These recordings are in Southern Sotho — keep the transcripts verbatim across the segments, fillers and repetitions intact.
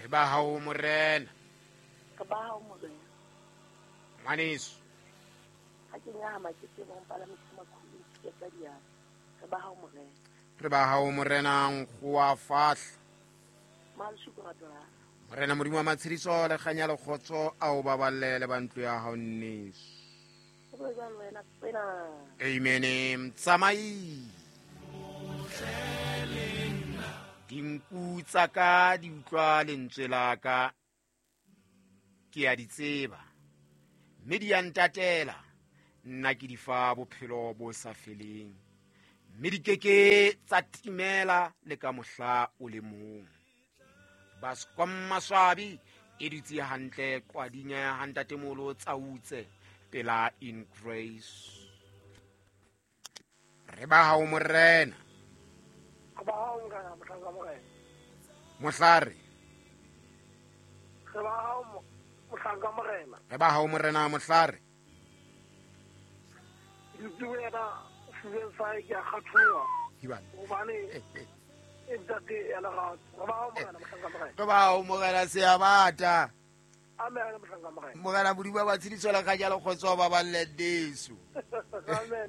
Re ba hao morena. Re ba hao morena. Ngwaneso. Ha ke nyahama ke tsebe ho palamisa makhulu ke tsa diatla. Re ba hao morena. Re ba hao morena nkgoa fahla. Malshuku ratela. Morena Modimo wa matshediso le kganya le kgotso a o baballe le ba ntlo ya hao nneso. Amen. Tsamai. Dinku tsa ka di utlwa lentswe la ka, ke a di tseba, mme di a ntatela. Nna ke di fa bophelo bo sa feleng, mme di keke tsa timela le ka mohla o le mong. Bascom Maswabi e dutse hantle qwadinya ya hantatemolo tsautse pela in grace. Re ba hao morena. Re ba hao morena mohlanka morena. Mohlare. Re ba hao mohlanka morena. Re ba hao morena mohlare. Dutse wena fubeng sa ke a kgathoa. Hobane e ntate ya lerato. Re ba hao morena mohlanka morena. Re ba hao morena seabata. Amen mohlanka morena. Morena Modimo wa matshediso le kganya le kgotso ba baballe nneso. Amen.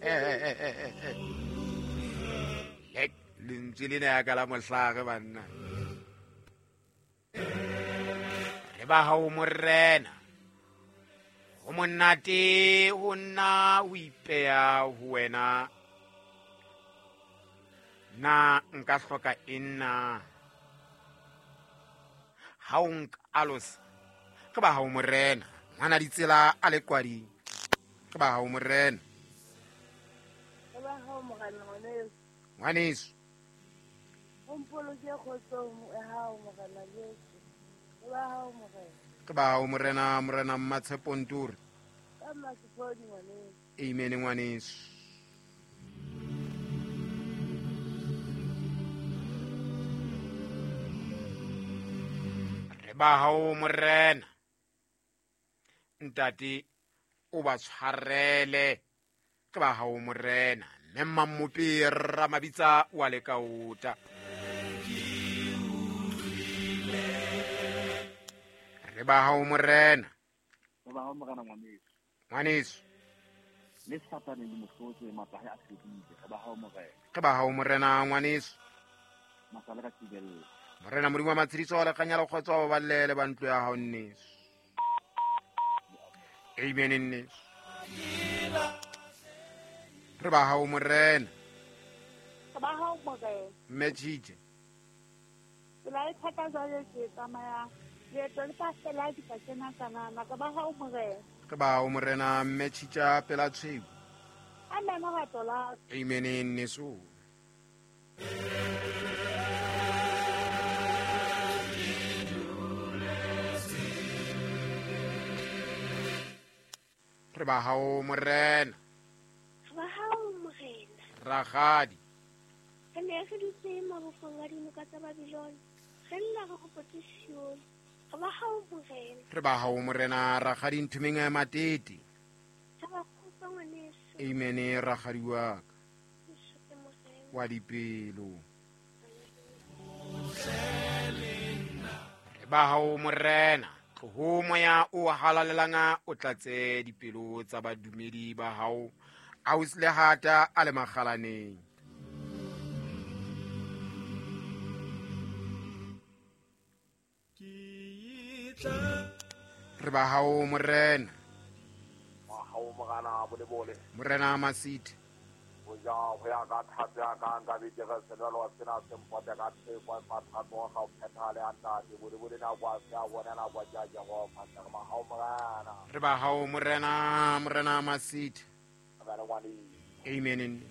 Lek lentswe lena ya ka la mohlare banna. Re ba hao morena. Ho monate ho nna ho ipeha ho wena. Na nka hloka eng na? Ha o nkalosa, re ba hao morena. Ngwana ditsela a le qwading. Re ba hao morena. Re ba hao morena ngwaneso. Ngwaneso. O mpoloke kgotsong ya hao morena Jesu. Re ba hao morena. Re ba hao morena morena Mmatshepo Nture. Ka Mmasepodi ngwaneso. Amen ngwaneso. Re ba hao morena. Ntate o ba tshwarele. Re ba hao morena. Mme Mmamopi Ramabitsa wa lekaota. Re ba hao morena. Re ba hao morena ngwaneso. Ngwaneso. Le Satane le mohlotse matla a fedile. Re ba hao morena. Re ba hao morena ngwaneso. Masala ka thibella. Morena Modimo wa matshediso le kganya le kgotso ba baballe le ba ntlo ya hao nneso. Amen nneso. Re ba hao morena. Re ba hao morena. Mme Tshitje. Tsela e thata jwale ke tsamaya. Leeto le sa fela di ka kena kanana. Re ba hao morena. Re ba hao morena mme Tshitja pela tshweu. Amen rato la. Amen nneso. Re ba hao morena. Re ba hao morena. Rakgadi. Re ne re dutse mabopong a dinoka tsa Babilona. Re lla re hopotse Sione. Re ba hao morena. Re ba hao morena rakgadi Nthumeng ya Matete. Re ba kgotsa ngwaneso. Amen rakgadi wa ka. Morena. Wa dipelo. Re ba hao morena. Tloho moya o halalelang o tlatse dipelo tsa badumedi ba hao. Ausi Lehata a le makgalaneng. Re ba hao morena. Ba hao morena bolebole. Morena Masithe. Ho ja ho ya ka thato ya ka nka be ke re senwelo sena se mpote ka theko mathato ga o phethale a ntate bolebole na kwa se a bona na kwa ja Jehova. Re ba hao morena. Re ba hao morena morena Masithe. Amen. Amen.